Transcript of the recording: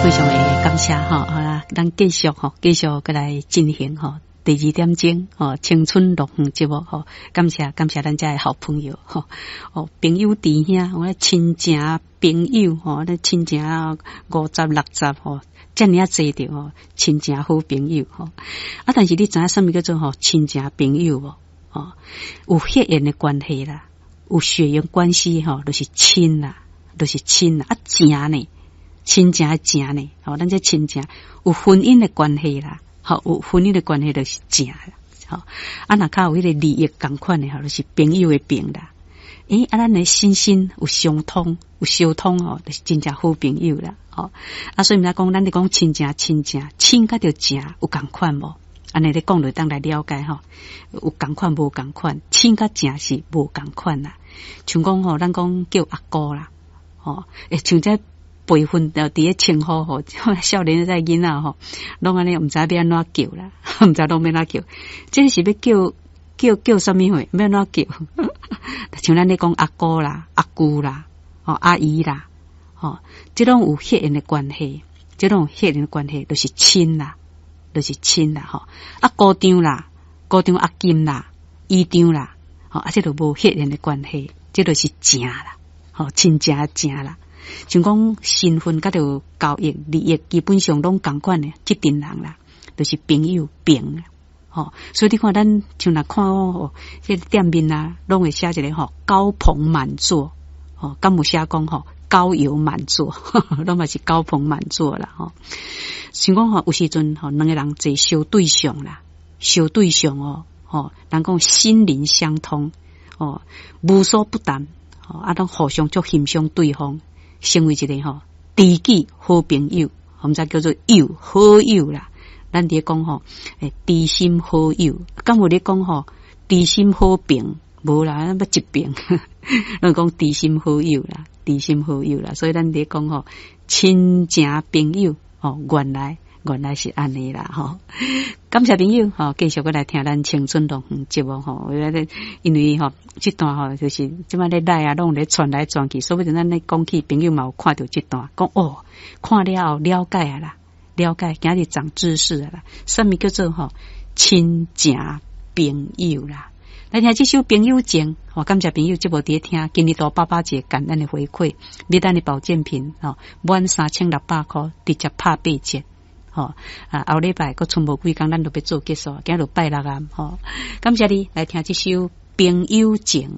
非常的感謝吼，好啦，咱繼續吼，繼續閣來進行吼。第二點鐘吼，青春樂園節目吼，感謝感謝咱遮的好朋友吼，哦，朋友弟兄，我親情朋友吼，咱親情50、60吼，遮爾仔濟著吼，親情好朋友吼。啊，但是你知影啥物叫做吼親情朋友無？吼，有血緣的關係啦，有血緣關係吼，就是親啦，就是親啦。啊，情呢？親情的情呢？吼，咱這親情有婚姻的關係啦。吼，有婚姻的關係就是情啦，吼，啊，若較有彼個利益仝款的吼，就是朋友的朋啦。欸，啊，咱的心心有相通，有相通吼，就是真正好朋友啦。吼，啊，所以毋知講，咱咧講親情，親情，親佮著情有仝款無？按呢咧講就當來了解吼，有仝款無仝款，親佮情是無仝款啦。像講吼，咱講叫阿姑啦，吼，欸，像這輩分佇咧稱呼吼，少年的囡仔吼，攏按呢毋知欲按怎叫啦，毋知攏欲按怎叫，這是欲叫叫叫啥物貨？欲按怎叫？像咱咧講阿姑啦、阿舅啦、吼阿姨啦，吼，這攏有血緣的關係，這攏有血緣的關係，就是親啦，就是親啦，吼。啊，姑丈啦，姑丈阿金啦，姨丈啦，吼，啊，這就無血緣的關係，這就是情啦，吼，親情情啦。像講身份佮著交易利益，基本上攏仝款的，這陣人啦，就是朋友朋，吼。所以你看，咱像若看哦，這個店面啊，攏會寫一个吼高朋滿座，吼，敢有寫講吼高友滿座，攏嘛是高朋滿座啦，吼。像講吼，有時陣吼，兩个人坐相對相啦，相對相哦，吼，人講心靈相通，哦，無所不談，吼，啊，攏互相足欣賞對方。成為一个吼知己好朋友，我們才叫做友好友啦。咱佇咧講吼，欸，知心好友，敢有咧講吼，知心好朋？無啦，咱欲一朋，咱講知心好友啦，知心好友啦。所以咱佇咧講吼，親情朋友吼，原來原來是按呢啦吼。感謝朋友吼，繼續閣來聽咱青春樂園節目吼。因為吼，這段吼就是這擺咧來啊，攏咧傳來傳去，說不定咱咧講起朋友嘛有看著這段，講哦，看了後了解啊啦，了解，今日長知識啊啦。啥物叫做吼親情朋友啦？來聽這首《朋友情》，吼，感謝朋友這部佇咧聽，今日都爸爸節感恩的回饋，買咱的保健品吼，滿3600塊，直接拍8折。吼啊，後禮拜閣賰無幾工，咱就欲做結束，今日拜六啊，吼，感謝你來聽這首《朋友情》。